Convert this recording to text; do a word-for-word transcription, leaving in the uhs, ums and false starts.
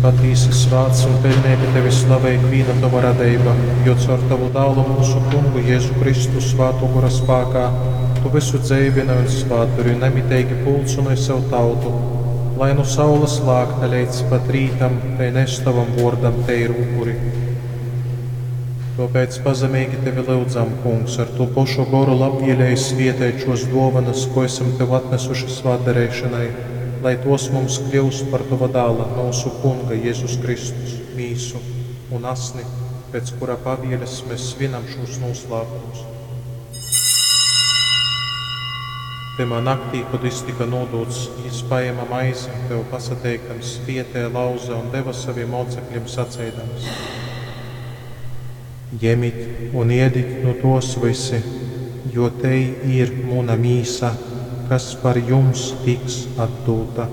patīsi svāts un peļneigi tevi slavej ikvīna tova radeiba, jo caur tovu Dālu myusu Kungu Jezu Kristu Svātō Gora spākā tu vysu dzeivynoj un svātdori un namiteigi pulcynoj sev tautu, lai nu saules lākta leidz pat rītam tei nes tovam vōrdam teiru upuri. Tōpēc pazemeigi tevi lyudzam, Kungs, ar tū pošu goru labvieleigi svieteit šos dōvanas, ko esam tev atnesuši svātdareišonai, lai tos mums kļyust par tova dāla, myusu Kunga Jezus Kristus, mīsu un asni, pēc kura pavieles mēs svinam šūs nūslāpumus. Tymā naktī, kod jis tika nūdūts, jis paēma maizi, tev pasateikdams, svietēja, lauze un deva savim mōcekļim saceidams: Jemit un iedit nu tos vysi, jo tei ir muna mīsa, kas par jums tiks atdūta.